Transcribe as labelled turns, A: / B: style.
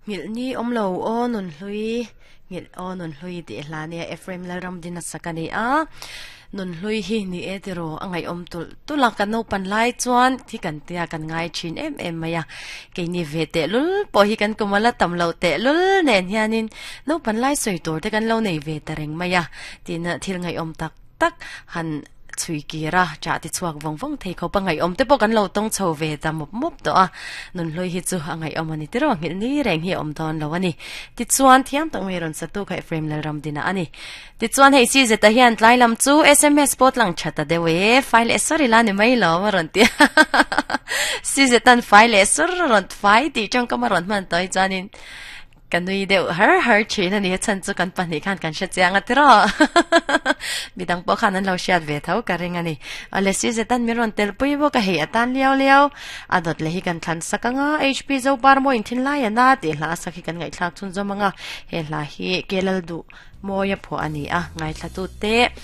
A: Nghilh ni awm lo aw Nunhlui, nghilh aw Nunhlui tih hla nia Ephraim Lalramdina sak a ni a. Nunhlui hi ni e tiraw a ngaihawm tulh tulh a, kan naupan lai chuan thi kan tia kan ngai thin em em mai a. Keini ve tehlul pawh hi kan kum a la tam loh tehlul nen hianin naupan lai sawi tur te kan lo nei ve ta reng mai a tina thil ngaihawm tak tak han chhui kir a, chah ti chhuak vawng vawng thei khawp a ngaihawm te pawh kan lo tawng chho ve ta mawp mawp tawh a, nunhlui hi chu a ngaihawm a ni tiraw nghilh ni reng hi a awm dawn lo a ni. Tichuan thiam tak mai rawn satu kha Ephraim Lalramdina a ni. Tichuan hei si zeta hian tlai lam chu sms pawh tlang tha ta deuh e, fai leh sawr ila ni mai lo a rawn ti a, si zetan fai leh sawr a rawn fai tih tawngkam a rawn hman tawh hi chuanin Ka nui deuh har har thin a ni, a chhan chu kan pahnih khan kan hre chiang a tiraw. Midang pawh khan an lo hriat ve tho ka ring a ni. Awle Sizetan min rawn tel pui bawk a, hei atan liau liau a dawt leh hi kan thlan sak ang a, HP Zopar maw inthin lai a na tih hla a sak hi kan ngaihthlak chhunzawm ang a, he hla hi Kelal duh mawi a phuah a ni a, ngaithlatute.